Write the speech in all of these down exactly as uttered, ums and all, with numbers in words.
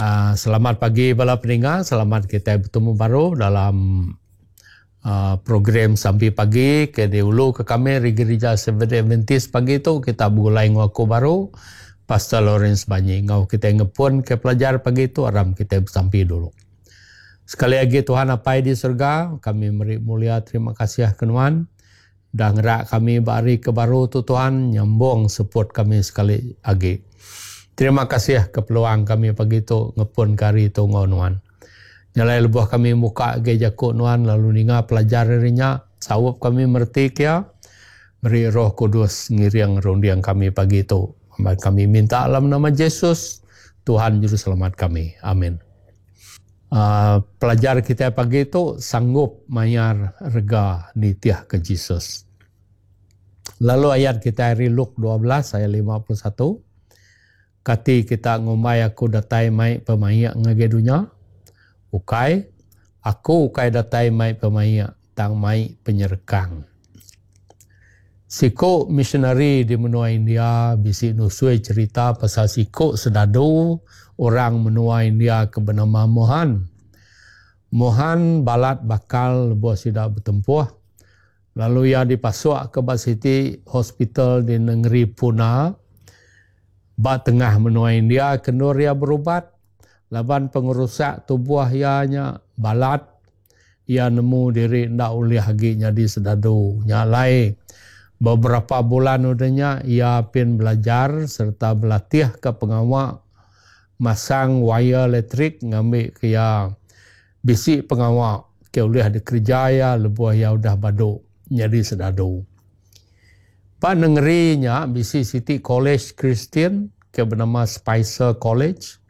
Uh, selamat pagi bala peninga, selamat kita bertemu baru dalam uh, program Sampi Pagi ke diulu ke kami di Gereja Seventh Adventist. Pagi tu kita begulai enggau aku baru, Pastor Lawrence Banyi. Enggau kita ngepun ke pelajar pagi tu, aram kita bersampi dulu. Sekali lagi Tuhan Apai di surga, kami meri mulia terima kasih ke Nuan. Dah ngerak kami ba hari ke baru tu Tuhan, nyambung support kami sekali lagi. Terima kasih ke peluang kami pagi tu ngepun ke hari tu enggau Nuan. Nyalai lebuh kami muka agi jaku Nuan lalu ninga pelajar ari nya, saup kami mereti kia, beri Roh Kudus ngiring runding kami pagi tu. Kami minta dalam nama Jesus, Tuhan Juru Selamat kami. Amin. Uh, pelajar kita pagi tu sanggup mayar rega nitih ke Jesus. Lalu ayat kita hari Luke dua belas ayat lima puluh satu. Kati kita ngumbai aku datai mai pemaik ngagai dunya? Ukai, aku ukai datai mai pemaik, tang mai penyerekang. Siku missionary di menua India bisi nusui cerita pasal siku sedadu orang menua India ke bernama Mohan. Mohan balat bakal lebuh sida bertempuh. Lalu ia dipasuk ke bak siti hospital di negeri Pune. Ba tengah menua India kendur ia berubat. Laban pengerusak tubuh ia nya balat. Ia nemu diri ndak ulih agi nyadi sedadu. Nya lai beberapa bulan udahnya ia pin belajar serta berlatih ke pengawa masang wire elektrik ngambil ke ia bisi pengawa ke ulih dikerja ia lebuh ia udah baduk nyadi sedadu. Pak negeri nya bisi siti college Kristian ke bernama Spicer College.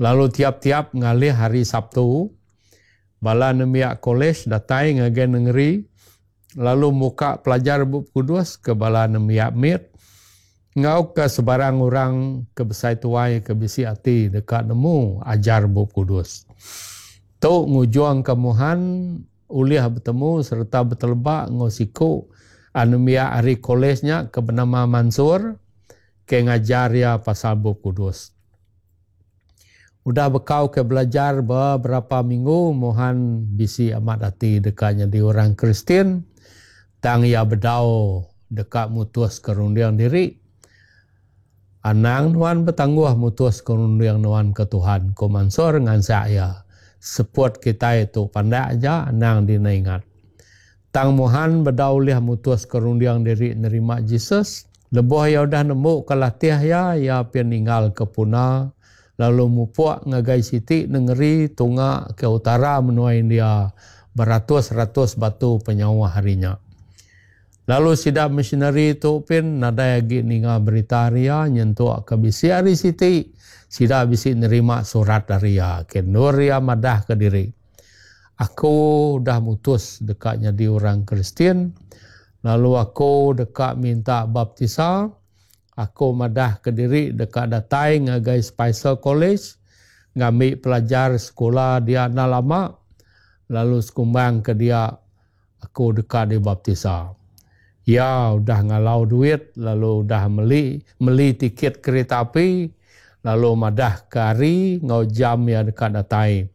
Lalu tiap-tiap ngalih hari Sabtu, bala nembiak college datai ngagai negeri lalu muka pelajar Bup Kudus ke bala nembiak mit ngau ke sebarang orang ke besai tuai ke bisi ati dekat nemu ajar Bup Kudus. Tu ngujuang ke Mohan ulih bertemu serta bertelebak ngau siku anembiak hari kolesnya ke bernama Mansur ke ngajar ia pasal Bup Kudus. Udah bekau ke belajar beberapa minggu, Mohan bisi amat hati dekatnya di orang Kristian, tang ia bedau dekat mutus kerundiang diri. Anang nuan bertangguh mutus kerundiang nuan ke Tuhan. Ko Mansur ngansak ia. Seput kita itu pandak aja, anang dina ingat. Tang Mohan bedau ulih mutus kerundiang diri nerima Jesus. Lebuh ia udah nemu ke latih ia, ia pun ninggal ke Puna. Lalu mupuk ngagai siti negeri tunga ke utara menua India beratus-ratus batu penyawah harinya. Lalu sidak missionary tu pun nadai agi ninga berita ria nyentuk ke bisi hari siti sidak bisi nerima surat dari ia ke nur ia madah ke diri. Aku dah mutus dekat jadi orang Kristian, lalu aku dekat minta baptisa. Aku madah ke diri dekat datai ngagai Spicer College, ngambil pelajar sekolah dia dah lama, lalu sekumbang ke dia aku dekat dibaptisa. Ya udah ngalau duit, lalu udah meli, meli tiket kereta api, lalu madah ke hari ngau jam ya dekat datai.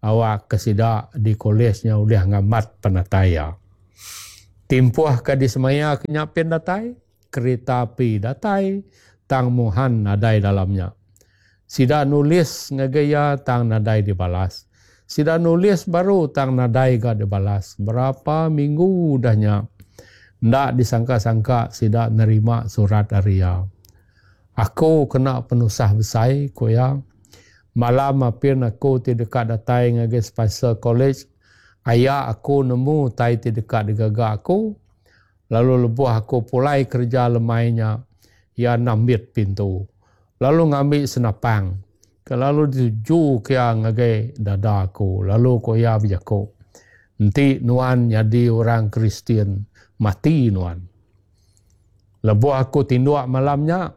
Awak kesidak di kolesnya udah ngamat penatai ya. Timpuh ke di semaya kenyapin datai, kereta api datai, tang Mohan nadai dalamnya. Sida nulis ngagaya tang nadai dibalas. Sida nulis baru tang nadai ga dibalas. Berapa minggu udahnya ndak disangka-sangka sida nerima surat dari ia. Aku kena penusah besai ko ya. Malam apin aku ti dekat datai ngagai Spicer College, ayah aku nemu tai ti dekat digaga aku. Lalu lebuh aku pulai kerja lemainya, ia nambit pintu. Lalu ngambil senapang. Lalu dituju ke ngagai dada aku. Lalu ko ia berjako, enti nuan jadi orang Kristian, mati nuan. Lebuh aku tinduk malamnya,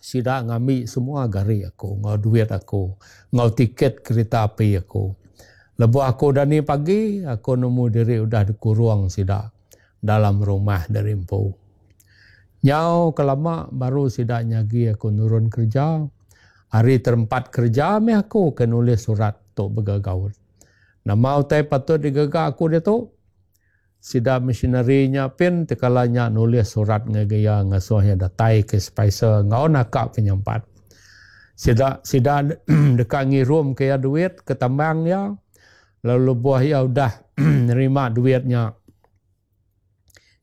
sida ngambil semua gari aku, ngau duit aku, ngau tiket kereta api aku. Lebuh aku dani pagi, aku nemu diri udah dikurung sida dalam rumah dari empu. Nyau kelama baru sida nyagi aku nurun kerja. Ari terempat kereja meh aku ke nulis surat tu begagaut. Nama utai patut digaga aku diatu? Sida missionary nya pin tekala nya nulis surat ngagai iya ngasuh iya datai ke Spicer enggau naka penyampat. Sida sida deka ngirum ke iya duit ke tambang iya lalu lebuh iya udah nerima duit nya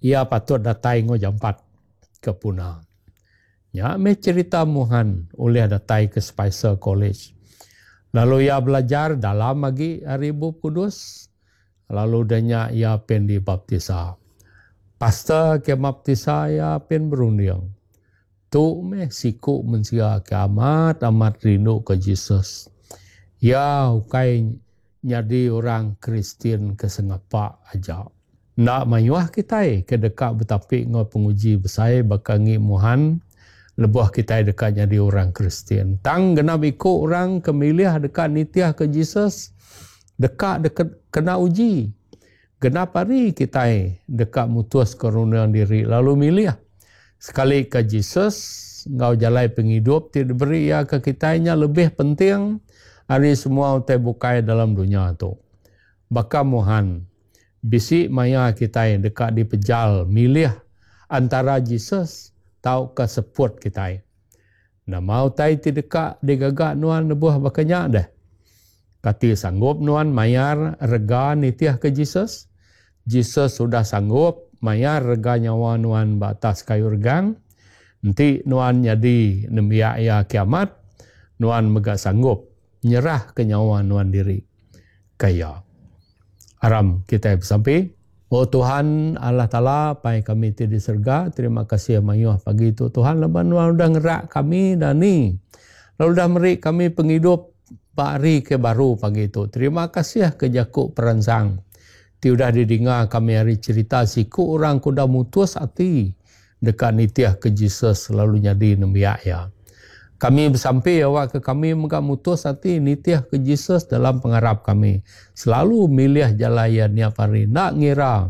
iya patut datai enggau jampat ke Puna. Nya meh cherita Mohan ulih datai ke Spicer College. Lalu iya belajar dalam agi ari Bup Kudus, lalu udah nya iya pen dibaptisa. Pastor ke maptisa iya pen berunding, Tu meh siku mensia ke amat-amat rinduka Jesus. Iya ukai nyadi orang Kristian ke sengapa aja. Enda mayuh kitai ke deka betapi enggau penguji besai baka ngi Mohan lebuh kitai deka nyadi orang Kristian. Tang genap iku orang ke milih deka nitihka Jesus deka kena uji. Genap hari kitai deka mutuska runding diri lalu milih sekalika Jesus enggau jalai pengidup ti diberi iya ke kitai nya lebih penting ari semua utai bukai dalam dunya tu. Baka Mohan, bisi maya kitai deka dipejal milih antara Jesus tauka seput kitai. Nama utai ti deka digaga nuan lebuh baka nya deh? Kati sanggup nuan mayar rega nitihka Jesus? Jesus udah sanggup mayar rega nyawa nuan ba atas kayu regang. Enti nuan nyadi nembiak iya ke amat, nuan mega sanggup nyerahka nyawa nuan diri ke iya. Aram kitai besampi. O Tuhan Allah Taala Pai kami ti di serega, terima kasih mayuh pagi tu Tuhan laban nuan udah ngerak kami dani lalu udah meri kami pengidup ba hari ke baru pagi tu. Terima kasih ke jaku peransang ti udah didinga kami ari cherita siku orang ke udah mutus ati deka nitihka Jesus lalu nyadi nembiak iya. Kami besampi awakka kami mega mutus ati nitihka Jesus dalam pengarap kami, selalu milih jalai iya niap hari enda ngira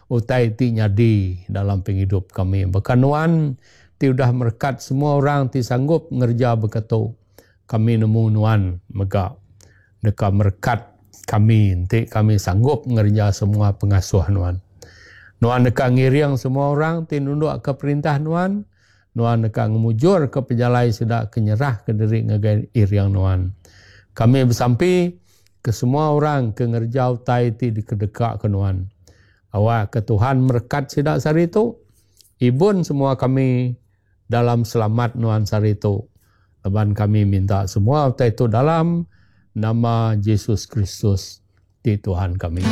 utai ti nyadi dalam pengidup kami. Baka nuan ti udah merekat semua orang ti sanggup ngereja baka tu, kami nemu nuan mega deka merekat kami enti kami sanggup ngereja semua pengasuh nuan. Nuan deka ngiring semua orang ti nundukka perintah nuan. Nuan deka ngemujurka pejalai sida ke nyerahka diri ngagai iring Nuan. Kami besampi ke semua orang ke ngereja utai ti dikedekaka Nuan. Awakka Tuhan merekat sida sehari tu. Ibun semua kami dalam selamat Nuan sehari tu. Laban kami minta semua utai tu dalam nama Jesus Kristus ti Tuhan kami.